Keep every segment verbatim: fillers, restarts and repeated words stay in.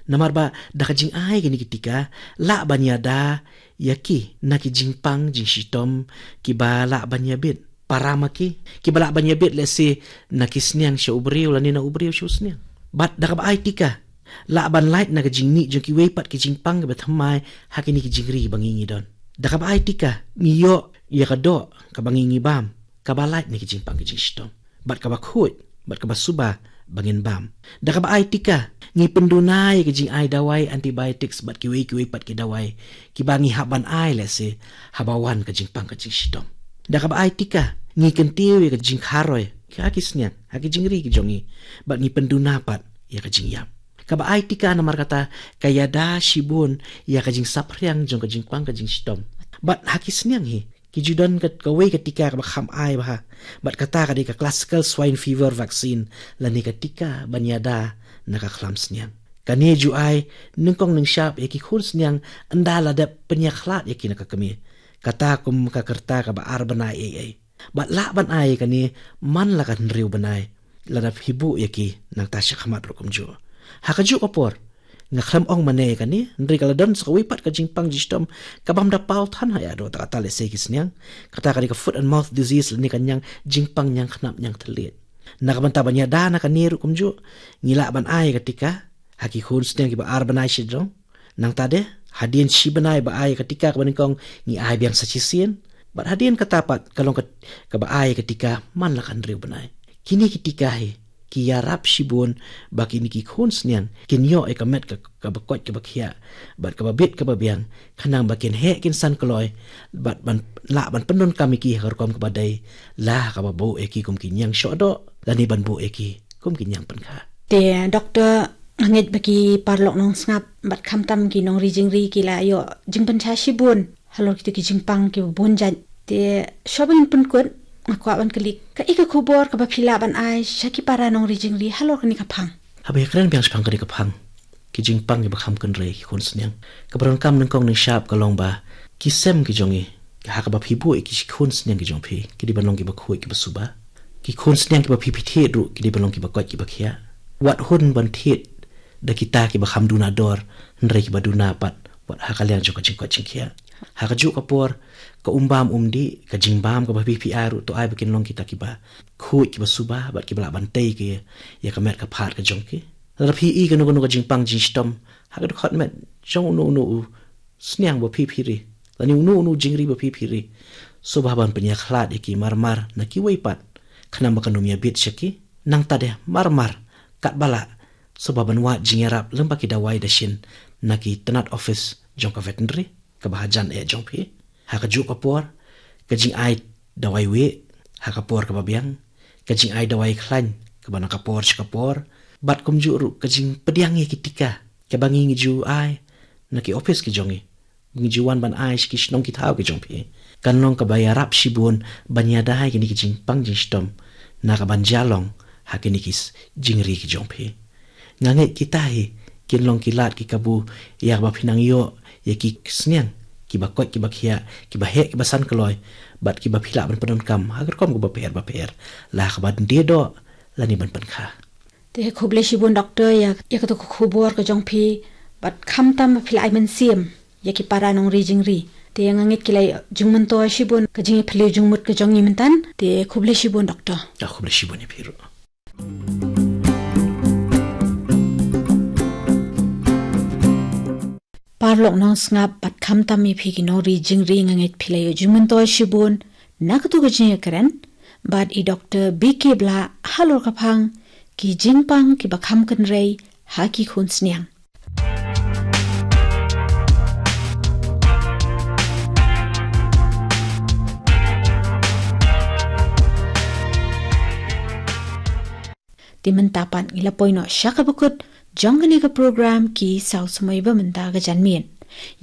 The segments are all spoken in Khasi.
Namar ba da ka jingai kine ki tika, lah ban ïada ïa ki na ki jingpang jingshitom kiba lah ban ïabit. Para ma ki, kiba lah ban ïabit lehse na ki sniang sha u briew lane na u briew sha u sniang. Bad da kaba ai tika, lah ban lait na ka jingmih jong kiwei pat ki jingpang kiba thymmai ha kine ki jingri ba ngi ngi don. Da kaba ai tika, ngi ïoh ïa ka doh kaba ngi ngi bam, kaba lait na ki jingpang ki jingshitom. Bad kaba khuid, bad kaba suba ba ngin bam. Da kaba ai tika, ngi pynduna ïa ka jingai dawai antibiotics bad kiwei kiwei pat ki dawai kiba ngi hap ban ai lehse haba wan ka jingpang ka jingshitom. Da kaba ai tika, ngi kyntiew ïa ka jingkharoi ha ki sniang, ha ki jingri ki jong ngi, bad ngi pynduna pat ïa ka jingïap. Kaba ai tika namar kata ka ïada shibun ïa ka jingsaphriang jong ka jingpang ka jingshitom. Bad ha ki sniang hi, ki ju don ka, kawei ka tika kaba kham ai bha. Bad kata ka dei ka classical swine fever vaccine, lane ka tika ban ïada na ka khlam sniang. Kane ju ai nyngkong nyngshap ïa ki khun sniang ynda la dep pynïakhlad ïa ki na ka kmie. Kata kum ka rta kaba ar bnai ei ei. Bad lah ban ai kane man la ka hynriew bnai, lada phi buh ïa ki nangta sha khmat ruh kumjuh. Ha kajuh ka por, nga khlem ong mane ïa kane, hynrei ka la don sa kawei pat ka jingpang jingshitom ka bym da paw than ha ïa do ta kata lehse ki sniang. Kata ka dei ka foot and mouth disease lane ka ñiang, jingpang ñiang khnap ñiang thylliej. Na ka bynta ban ïada na kane ruh kumjuh, ngi lah ban ai ka tika ha ki khun sniang kiba ar bnai sha jrong. Nangta de, hadien shi bnai ba ai ka tika kaba nyngkong, ngi ai biang sa shisien. Bad hadien kata pat ka long ka, kaba ai ka tika man la ka hynriew bnai. Kine ki tika hi ki ïarap shibun ba kine ki khun sniang kin ïoh ïa ka met ka, kaba koit kaba khiah bad kaba bit kaba biang, khnang ba kin heh kin san kloi, bad ban lah ban pyndonkam ïa ki ha ka rukom kaba dei, la kaba buh ïa ki kum ki ñiang shoh doh lane ban buh ïa ki kum ki ñiang pynkha. Te doktor, ngeit ba ki paralok nongsngap bad khamtam ki nongri jingri ki la ïoh jingpynshai shibun halor kito ki jingpang kiba bun jait. Te shuwa ba ngin pynkut, nga kwah ban kylli, kaei ka khubor kaba phi lah ban ai sha ki para nongri jingri halor kane ka phang? Haba ïakren biang shaphang kane ka phang, ki jingpang kiba kham kynrei ki khun sniang, kaba donkam nyngkong nyngshap ka long ba ki sem ki jong ngi, ha kaba phi buh ïa ki khun sniang ki jong phi, ki dei ban long kiba khuid kiba suba. Ki khun sniang kiba phi phi thied ruh ki dei ban long kiba koit kiba khiah. Wat hun ban thied da kita kiba kham duna dor, hynrei kiba duna pat wat ha ka liang jong ka jingkoit jingkhiah. Ha kajuh ka por, ka um bam um dih, ka jingbam kaba phi phi ai ruh to ai ba kin long kita kiba khuid kiba suba bad kiba lah ban tei ki ïa ka met ka phad ka jong ki. Lada phi i kano kano ka jingpang jingshitom ha ka dkhot met jong uno uno u sniang ba phi phi ri, lane uno uno u jingri ba phi phi ri, sngewbha ban pynïakhlad ïa ki mar mar na kiwei pat, khnang ba kan ym ïabit sha ki. Nangta de mar mar, katba lah, sngewbha ban wad jingïarap lem bad ki dawai dashin na ki tnat office jong ka veterinary kaba hajan eh jong phi. Ha kajuh ka por, ka jingai dawai wieh ha ka por kaba biang, ka jingai dawai khlaiñ kaba na ka por sha ka por, bad kumjuh ruh ka jingpdiang ïa ki tika kaba ngi ngi ju ai na ki office ki jong ngi, ngi ju wan ban ai sha ki shnong ki thaw ki jong phi, kan long kaba ïarap shibun ban ïada ïa kine ki jingpang jingshitom na ka ban jia long ha kine ki s-, jingri ki jong phi. Nga ngeit kita hi kin long ki lad ki kabu ïa kaba phi nang ïoh ïa ki sniang kiba koit kiba khiah, kiba heh kiba san kloi, bad kiba phi lah ban pyndonkam ha ka rukom kaba pher ba pher, la ha kaba die doh lane ban pynkha. Te khublei shibun doktor ïa, ïa kato ka khubor ka jong phi, bad khamtam ba phi la ai mynsiem ïa ki para nongri jingri. Te nga ngeit ki la jingmyntoi shibun ka jingïaphylliew jingmut ka jong ngi mynta. Te khublei shibun doktor. Ah, khublei shibun ïa phi ruh. Paralok nongsngap bad khamtam ïa phi ki nongri jingri, nga ngeit phi la ïoh jingmyntoi shibun na kato ka jingïakren bad i doktor B K Blah halor ka phang ki jingpang kiba kham kynrei ha ki khun sniang. Te mynta pat ngi la poi noh sha kaba kut jong kane ka program Ki Saw Samoi ba mynta ka janmiet.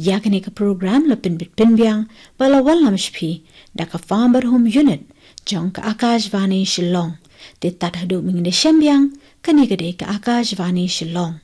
Ïa kane ka program la pynbit pynbiang bad la wallam sha phi da ka Farm Bad Home Unit jong ka Akashvani Shillong. Te tad haduh mynta ngin da shem biang, kane ka dei ka Akashvani Shillong.